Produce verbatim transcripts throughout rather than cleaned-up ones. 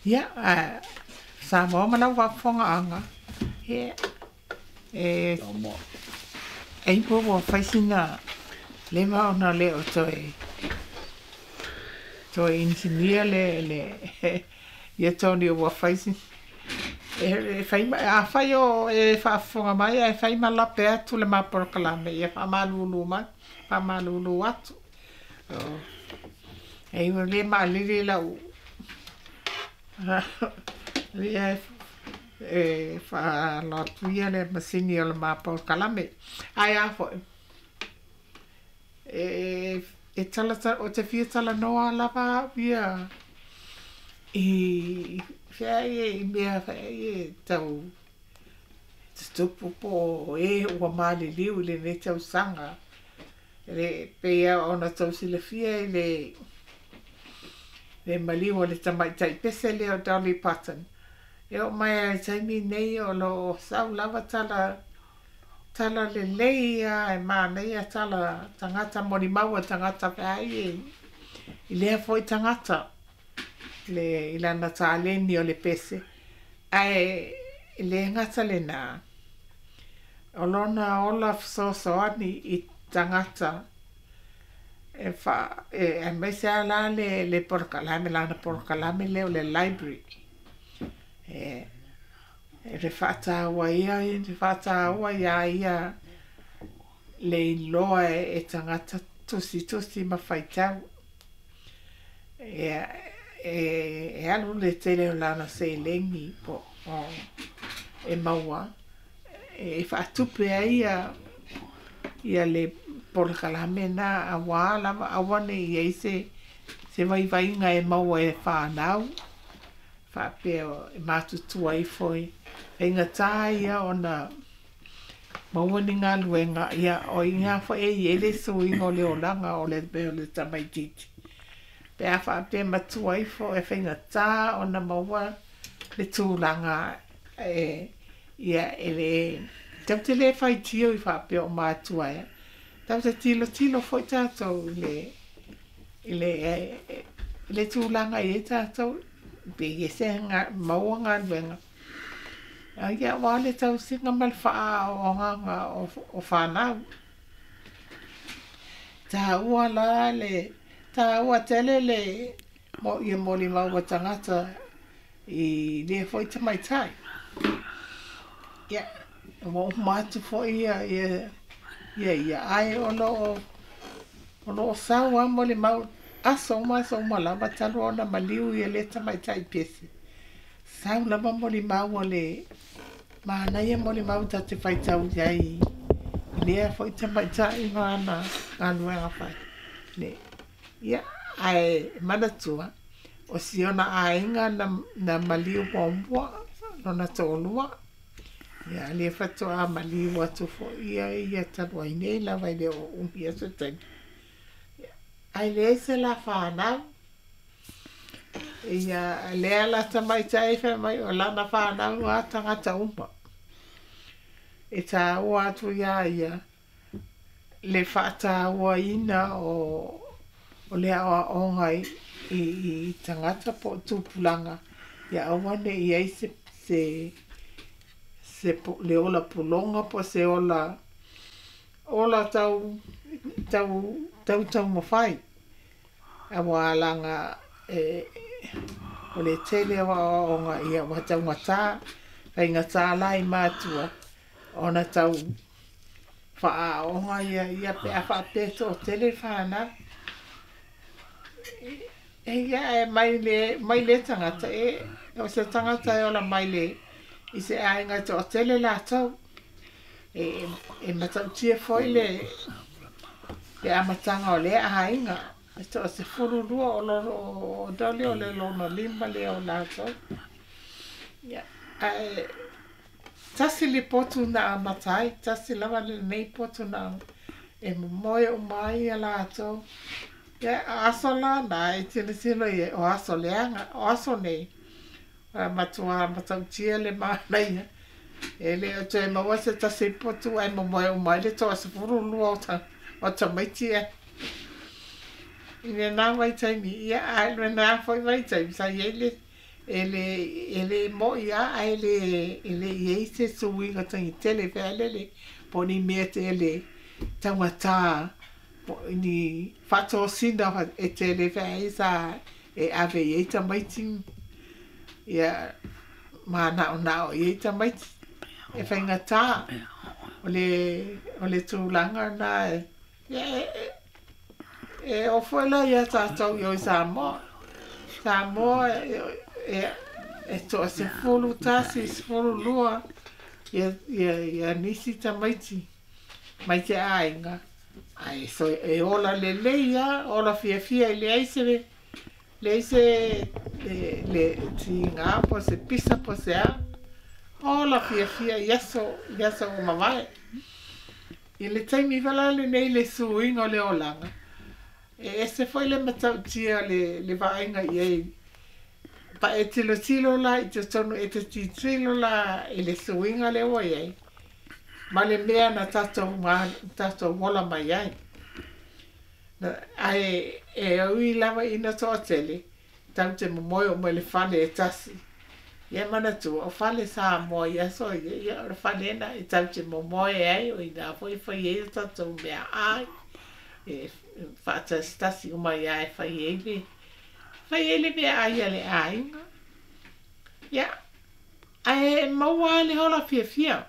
Ia, Samoa ma lau faafofogaaga, ia e e po ua fai sina leva ona le o toe toe inisinia le le ia Tony ua fai si e fai afai o e faafofoga mai ae fai ma lape atu le ma polokalame, ia faamalulu mai, faamalulu atu. E ua le maalili lau ia e faalo atu ia le masini o le ma polokalame. Ae a foi e e tala o te fia talanoa lava au ia i fea ia i mea fea ia tau tutupu po o e ua maliliu i lenei tausaga. Le pei ona tou silafia i le le maliu o le tamaitai pese lea o Dolly Parton. E oo mai lava i le taimi nei o lo o sau lava tala tala lelei lava e manaia tala tagata molimau a tagata feai i lea foi tagata le i lana taleni o le pese. Ae le gata lena, o lona ola fesoasoani i tagata e fa e aemaise lava la le le polokalame lana polokalame lea o le library. E e le faataua ia le faataua ia ia le iloa e tagata tusitusi ma faitau. Ia e e alu le tele o lana seleni po o e maua e faatupe ai ia ia le polokalame na auā lava aua ne i i ai se se vaivaiga e maua e whānau faapea e matutua ifo i faigata ia ona maua ni galuega, ia o i ina foi e i ai le suiga o le olaga o le o le tamaitiiti. Pe a faapea matua ifo e faigata ona maua le tulaga e ia e le tatou te le faitio i faapea o matua e tatou te tilotilo foi tatou i le i le i le tulaga i ai tatou pe i ai se maua galuega. Ia aua le tausiga ma le faaogaga o, o whanau. Taua la le taua tele le mo ia molimau a tagata i lea foi tamaitai. Ia, ua uma atu foi ia ia ia ia ae o lo o o lo o sau lava molimau aso uma aso uma lava talu ona maliu ia lea tamaitai pese. Sau lava molimau a le manaia molimau tatou te faitau i ai i lea foi tamaitai ma ana galuega fai. Le, ia, ae manatua, o si ona aiga na, na maliu muamua, lona toalua. Ia, lea faatoa maliu atu foi ia ia talu ai nei lava e le o umi se taimi. Ae leai se la whanau. Ia, lea la tamaitai fai mai o lana whanau a tagata uma. E tāua atu ia ia le faatauaina o o le aoaoga i, i, i tagata po o tupulaga ia aua ne i ai se se se le ola puloga po o se ola ola tau tau tau taumafai auā laga e o le tele o aoaoga ia ua taugatā faigatā la i matua ona tau faaaoga ia ia pe a faapea toatele whanau. E ia e mai le mai le tagata e o se tagata e ola mai le i se aiga toatele latou. E e matautia foi le le amataga o lea aiga. E toasefululua o lo o Dolly o le lona lima lea o latou. Ia ae tasi le potu na amata ai, tasi lava lenei potu na e momoe uma ai ia latou. Ia aso la na e tilotilo i ai o aso leaga, o aso nei matua matautia le manaia. E le o toe maua se tasi potu ae momoe uma ai le toasefululua o ta o tamaiti e. I lena vaitaimi, ia ae lena foi vaitaimi sa i ai le E le e le mo'i lava ae le e le i ai se suiga tagitele fealele po o ni mea tele taugatā po o ni faatosina e tele feai sa e ave i ai tamaiti ia manaonao i ai tamaiti e faigatā o le o le tulaga lena ia e e oo foi la iā tatou i o i Samoa. Samoa e e toasefulu tasi, sefulu lua ia ia ia nisi tamaiti mai te aiga ae so e ola lelei lava, ola fiafia e leai se leai se le le tiga po o se pisa po o se a, ola fiafia i aso i aso ua mavae. I le taimi foi la lenei i le suiga o le olaga, e ese foi le matautia o le le vaaiga i ai pa e tilotilo la i totonu e te tilotilo la i le suiga lea ua i ai ma le mea na tatou ma tatou ola mai ai. Ae e ui lava ina toatele tatou te momoe uma i le fale e tasi. Ia manatua o fale Samoa i aso ia, ia o le fale lena e tatou te momoe ai o ina foi e fai ai a tatou meaai e faatasitasi uma ai lava e fai ai le fai ai le meaai a le aiga. Ia, ae maua lava le ola fiafia.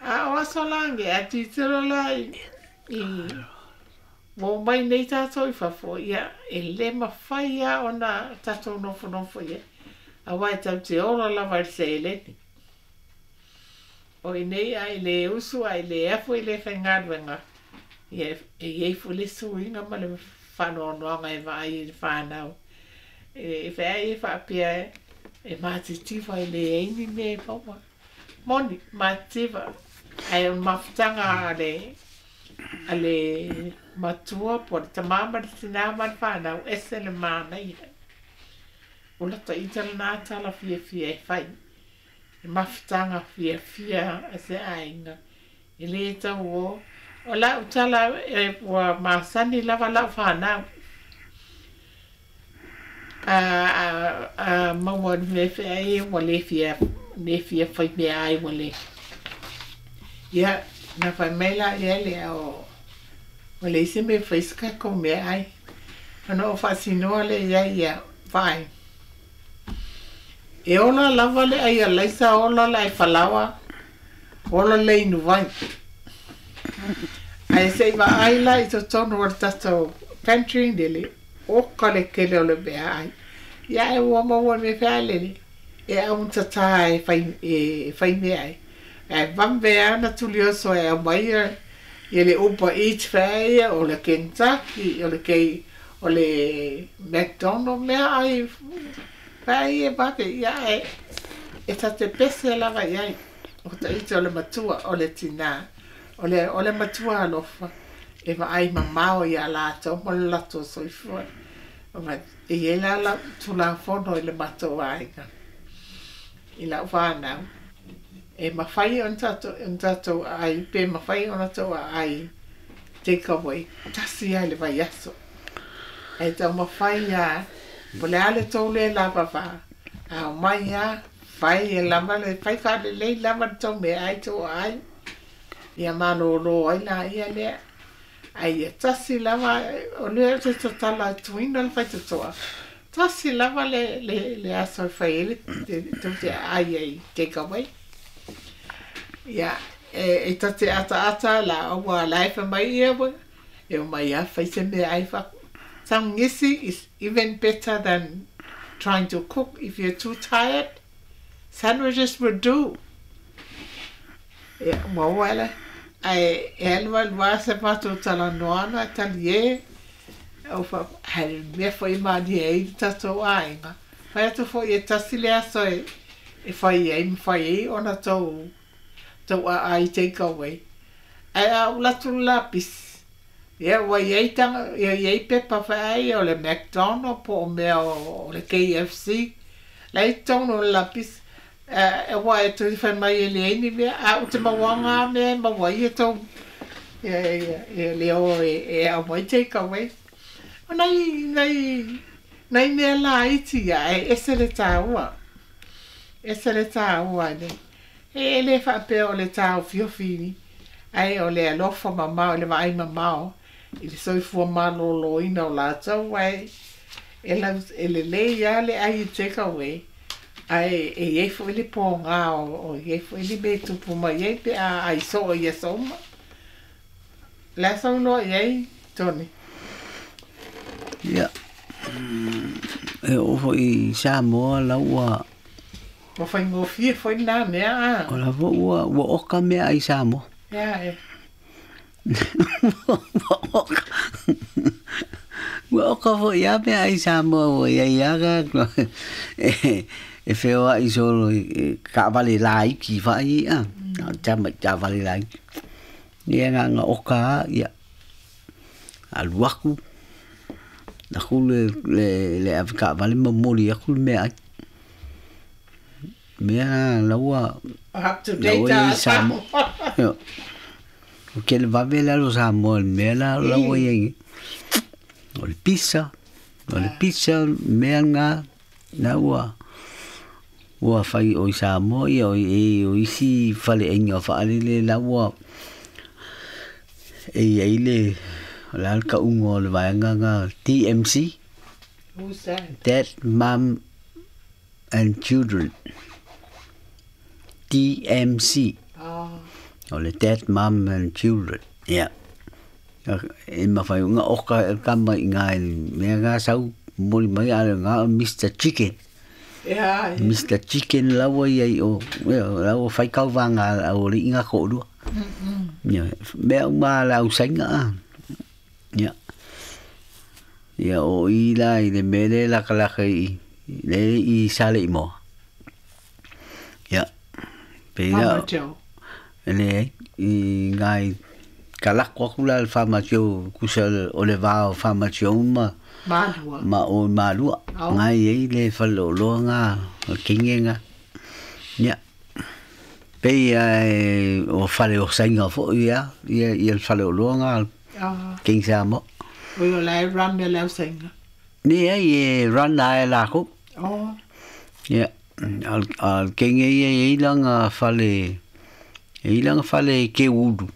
A o aso la age, a tilotilo la i ua omai nei tatou i fafo, ia e le mafai lava ona tatou nofonofo i ai, aua e tatou te ola lava i le seleni. O i inei a e le usu a e le afu e le faigaluega, ia e i ai foi le suiga ma le faanoanoaga e vaai i le fanau. E feai e faapea e matitiva e leai ni mea e maua. Moni, matitiva, ae o le mafutaga a le a le matua po o le tamā ma le tinā ma le fanau, ese le manaia. O lata ita lena tala fiafia e fai. E mafutaga fiafia a se aiga e lē tau o. O lau tala e ua masani lava lau fanau. A a a maua i le mea feai ua le fia le fia fai meaai ua le. Ia na fai mai laia lea o ua leai se mea e fai se tatou meaai. Ona ou faasinoa lea i ai ia vaai. E ola lava le ai alaisa, ola le ai falaoa, ola le inuvai. Ae se i vaai la i totonu o le tatou pantry lele, oka le tele o le meaai. Ia ae ua maua i le mea fealele, e augatata e fai, e fai meaai. Ae vave lava ona tulioso e aumai ia le Uber Eats feai, o le Kentucky, o le K, o le McDonald meaai feai e vave, ia ae e ta te pese lava i ai. O ta ita o le matua, o le tinā, o le o le matua alofa e vaai mamao iā latou ma le latou soifua. E i ai la lau Tulafono i le matou aiga, i lau fanau, e mafai ona tatou ona tatou aai pe mafai ona tou aai take away tasi lava i le vaiaso. Ae taumafai lava po o le a le tou le lavava, a omai lava fai e lava le fai faalelei lava le tou meaai tou aai, ia malōlō ai laia lea. Ae ia tasi lava o lea ou te tatala atuina le faitotoa, tasi lava le le le aso e fai ai le tou te aai ai take away. Ia e e ta te ataata la aua la e fai mai ia e omai lava fai se meaai fa. Taugisi is even better than trying to cook if you're too tired. Sandwiches will do. Ia ua oo ae la ae e alu alu lava sa matou talanoaga e talie o fa ae mea foi e malie ai le tatou aiga. Fai atu foi e tasi le aso e e fai ai ma fai ai ona tou tou aai take away. Ae a ou alu atu i le lapisi, ia ua i ai taga ia i ai pepa feai o le McDonald po o mea o le K F C la e i totonu o le lapisi. Aua e toe fai mai e leai ni mea, a ou te mauaga lava mea e maua ai e tou ia ia le o e aumai take away. O nai nai Nai mea laiti ia ae ese le taua. Ese le taua le. E le faapea o le taofiofi ae o le alofa mamao i le vaai mamao i le soifua malōlōina o latou ae e lau e lelei lava le ai i take away ae e iai foi le pōgā o iai foi le mea e tupu mai ai pe a ai soo i aso uma. O le a sou iloa i ai, Tony? Ia, e oo foi i Samoa la ua Ua faigofie foi lena mea a. O la foi ua ua oka meaai i Samoa. Ea e. Ua oka ua oka foi lava meaai i Samoa ua iai lava e feoai solo i taavale laiti faaiei a tama i taavale laiti. Ia na ona oka lava ia alu aku aku le le le avetaavale ma momoli atu le meaai. Mea la ua Up to la date ua iai a Samoa. Samoa. Ua tele vave le alu o Samoa i le mea la la ua iai nei. O le pizza, o le pizza mea lena la ua ua fai o i Samoa ia o i o isi faleaiga faalele la ua e iai le o le a le tauga o le vaega lena D M C. Who's that? Dad, Mum and Children. D M C. Oh. O le Dad, Mum and Children. Ia. E mafai ona oka e le tama i ngā mea ngā sau momoli mai a le ngā o Mister Chicken. Ia, ia. Mister Chicken laua ia i o, ia, laua whai kauwanga au le inga ko'orua. Ia, mea uma le au sainga a. Ia. Ia, o i la i le mele lakalaka i, le i sale i moa. Ia. Pe ia, Farmer Joe. le i ngai kalako aku la le Farmer Joe, kusa o le vā o Farmer Joe ma Malua. ma o Malua. Au. Ngai ei le whaleoloa ngā, o kinge ngā. Ia. Pe ia e, o whale o sainga fo ia, ia, ia le whaleoloa ngā, Ah. King Samoa. O i o la e run e lau sainga. Ni ei e run a e lako. Oh. Ia. Al, al kinge ia e ilanga whale, e ilanga whale ke ulu.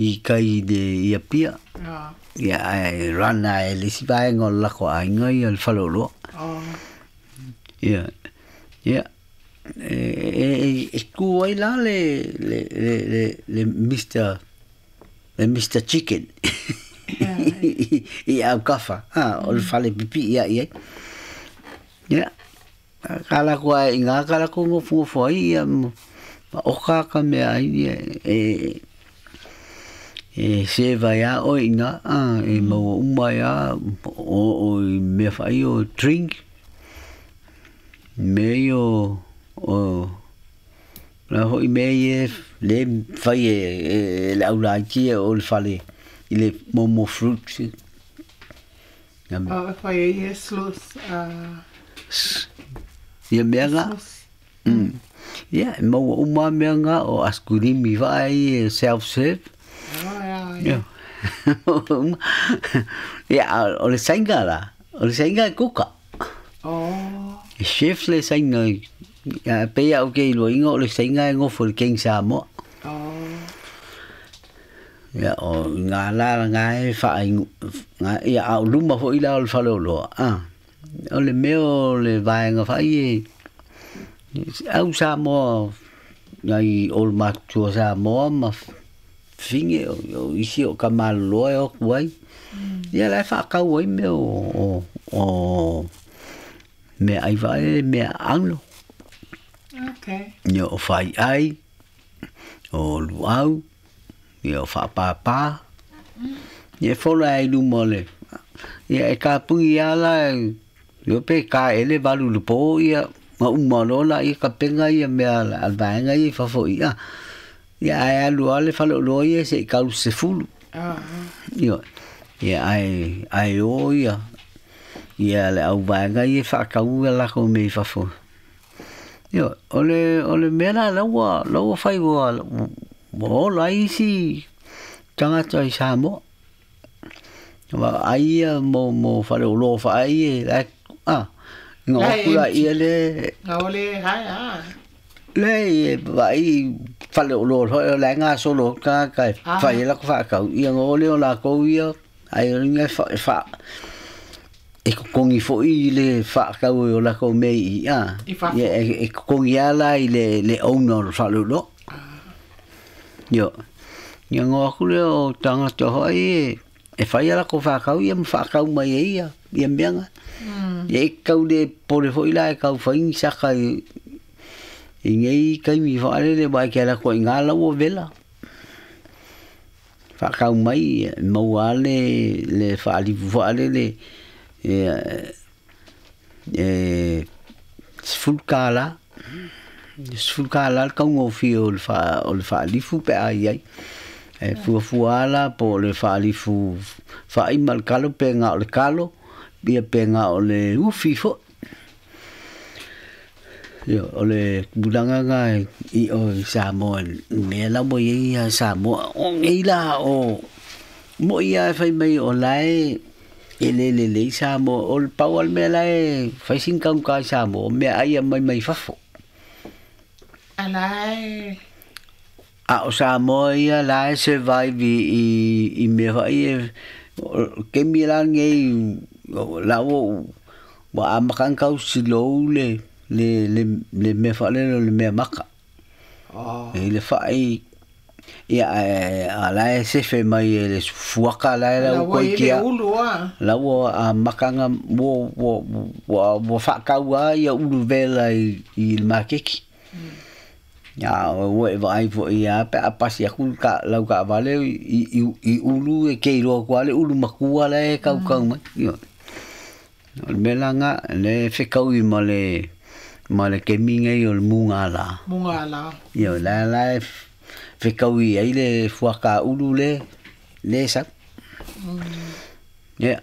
I kai le ia pia. Ah. Ia e run a e lisi vaenga o le lako ainga ia le whaleoloa. Oh. Ia. Ia. E, e, e, e ku ai la le, le, le, le, le Mister, le Mister Chicken. Ia. I au kafa. Ha, o le whale pipi ia ia. Ia. Ka la kua i ngā ka la ko ngofu ngofu ai ia ma oka ka mea ai ia e, e seva ia o i ngā, a, e maua uma ia o, o i mea whai o drink. Mea i o, o la hoi mea i e le whai e, e, e le au laiti e o le whale i le momo fruit. Nga- O, whai e ia slus, ah, Ia mea ngā. slus. Mm. Ia, e maua uma mea ngā o askurimi whai e self-serve. Oh, ia, ia. Ia. Ia, o le sainga la. O le sainga e kuka. Oh. E chef le sainga. Ia, pe ia o ke iloa inga o le sainga e ngofo le King Samoa. Oh. Ia, o ngā la ngā e whaingu. Ngā, ia, a o luma fo ila o le whaleoloa. Ah. O le mea o le vaenga whai e. Au Samoa, ngai o le matua Samoa ma finge o, o isi o ka maloloa e o kuai. Ia la e whaakau ai mea o, o, o mea ai whae, mea anglo. Okay. Ia o whai ai, o luau, ia o whaapāpā. Ia e whola ai luma o le. Ia e ka pungi ala, ia pe ka ele valu le pō, ia nga uma lola, ia ka penga ia mea la, al vaenga ia i fafo ia. Ia ai alu ale whaleoloa ia se i kalu se fulu. Ah. Ia, ia ai, ai o ia. Ia le au vaenga ia whaakau ia lako me i fafo. Ia, o le, o le mea la, la ua, la ua whai ua, ua ola isi tangata i Samoa. Wa ai ia mo mo fale o lo fa ai e la a ngo La e kula empty. ia le Nga ole hai a. le e vai fale o lo ho la nga solo ka ka Ah. fa ia la ko fa ka ia ngo le o la ko ia ai o nga fa fa e kokongi fo i le fa ka o la ko me i a I fafo. ia e, e kokongi ala i le le owner o fale o lo Io. Ia ngo aku le o tangata hoi e, e whai ala ko whakau ia ma whakau mai e ia, ia meanga. Mm. Ia e kau le pore foi la e kau whaingi saka i, i ngei kaimi whaarere wai ke ala ko i ngā lau o vela. Whakau mai, e maua le, le whaalifu whaarere e, e, sefulu kālā. Sefulu kālā le kaugofie o le faa o le faalifu pe a i ai. E fuafua ala po o le faalifu faaima le kalo pe gā o le kalo, ia pe gā o le ufi foʻi. Ia o le tulaga ga i o i Samoa mea lava iai ia Samoa o nei la o moʻi a e fai mai o lae e lē lelei Samoa o le pau a le mea lae fai sina kauka i Samoa o mea ai a mai mai fafo. Ala e. A o Samoa ia la e survive i i, i mea faʻi e o- kemi la nei la o ua amaka kau silou le le le le mea faʻalele o le mea maka. Oh. E le faʻi ia e a la e sefe mai e le fuaka la e La lau ua koi i le kia ulu a. la ua a makanga ua ua ua ua whakau ia ulu vela i, i le makeki. Ia ua e vaai foʻi ia pe a pasi aku ka lau ka vale i, i, i ulu e ke iloa kua le ulu makua la e kaukau mai. Ia. O le mea la ngā le whekau i ma le ma le kemi ngai o le munga la. Munga la. Ia la la e whekau i ai le fuaka ulu le le sa. Ia.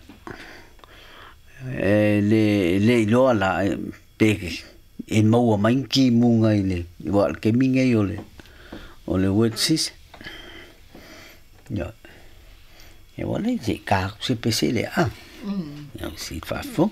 E le le iloa la e, pe e maua mai ki munga i le wa le kemi ngai o le o le wet sis. Ia. E wale se ka se pese le a. Mm. Ia si fa fo.